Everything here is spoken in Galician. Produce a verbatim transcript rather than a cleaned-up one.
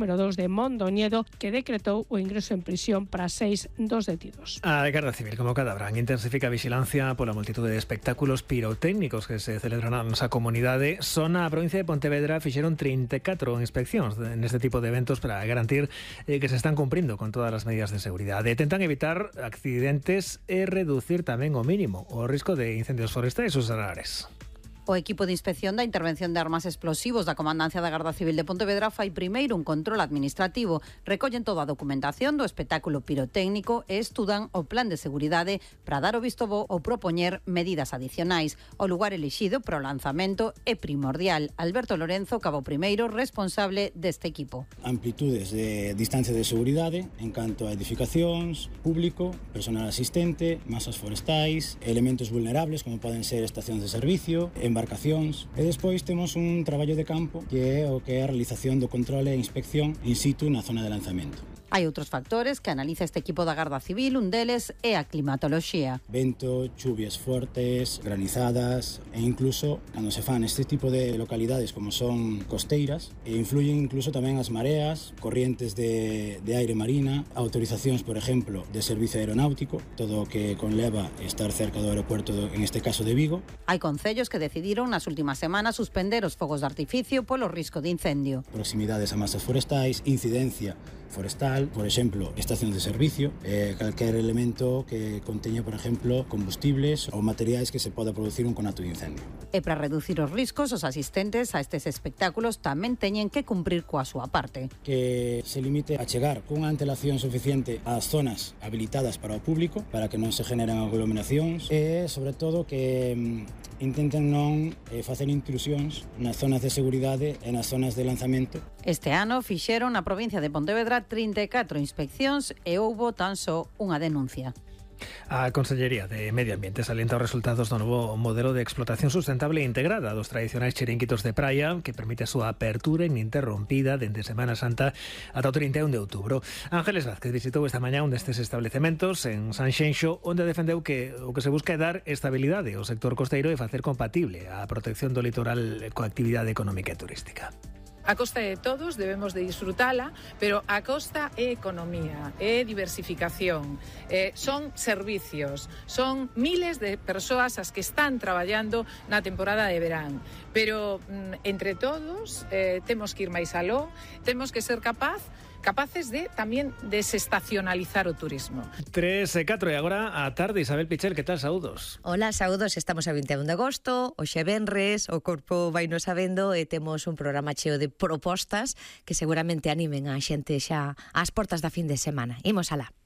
número dos de Mondoñedo, que decretou o ingreso en prisión para seis dos detidos. A Garda Civil, como cada verán, intensifica a vigilancia pola multitude de espectáculos pirotécnicos que se celebran na nosa comunidade. Só na provincia de Pontevedra fixeron trinta e catro inspeccións neste tipo de eventos para garantir eh, que se están cumprindo con todas as medidas de seguridade. Tentan evitar accidentes e reducir tamén o mínimo o risco de incendios forestais ou solares. O equipo de inspección da intervención de armas explosivos da Comandancia da Garda Civil de Pontevedra fai primeiro un control administrativo. Recollen toda a documentación do espectáculo pirotécnico e estudan o plan de seguridade para dar o visto bo ou propoñer medidas adicionais. O lugar elixido para o lanzamento é primordial. Alberto Lorenzo, cabo primeiro responsable deste equipo. Amplitudes de distancia de seguridade en canto a edificacións, público, personal asistente, masas forestais, elementos vulnerables como poden ser estacións de servicio, embarcacións, e despois temos un traballo de campo que é o que é a realización do controle e inspección in situ na zona de lanzamento. Hai outros factores que analiza este equipo da Garda Civil, un deles é a climatoloxía. Vento, chuvias fortes, granizadas e incluso cando se fan este tipo de localidades como son costeiras, e influyen incluso tamén as mareas, corrientes de, de aire marina, autorizacións, por exemplo, de servicio aeronáutico, todo o que conleva estar cerca do aeropuerto, do, en este caso de Vigo. Hai concellos que decidiron nas últimas semanas suspender os fogos de artificio polo risco de incendio. Proximidades a masas forestais, incidencia forestal, por exemplo, estacións de servicio, eh, calquer elemento que conteña, por exemplo, combustibles ou materiais que se poda producir un conato de incendio. E para reducir os riscos, os asistentes a estes espectáculos tamén teñen que cumprir coa súa parte. Que se limite a chegar cunha antelación suficiente ás zonas habilitadas para o público, para que non se generen aglomeracións, e, sobre todo, que mm, intenten non eh, facer intrusións nas zonas de seguridade e nas zonas de lanzamento. Este ano fixeron na provincia de Pontevedra trinta e catro inspeccións e houbo tan só unha denuncia. A Consellería de Medio Ambiente salienta os resultados do novo modelo de explotación sustentable e integrada dos tradicionais chiringuitos de praia, que permite a súa apertura ininterrompida dende Semana Santa ata o trinta e un de outubro. Ángeles Vázquez visitou esta mañá un destes establecementos en Sanxenxo, onde defendeu que o que se busca é dar estabilidade ao sector costeiro e facer compatible a protección do litoral coa actividade económica e turística. A costa de todos, debemos de disfrutala, pero a costa é economía, é diversificación, eh, son servicios, son miles de persoas as que están traballando na temporada de verán. Pero, mm, entre todos, eh, temos que ir máis aló, temos que ser capaz capaces de tamén desestacionalizar o turismo. tres e catro e agora a tarde. Isabel Pichel, que tal? Saúdos. Hola, saúdos, estamos a vinte e un de agosto, hoxe venres, o corpo vai nos sabendo e temos un programa cheo de propostas que seguramente animen a xente xa ás portas da fin de semana. Imos alá.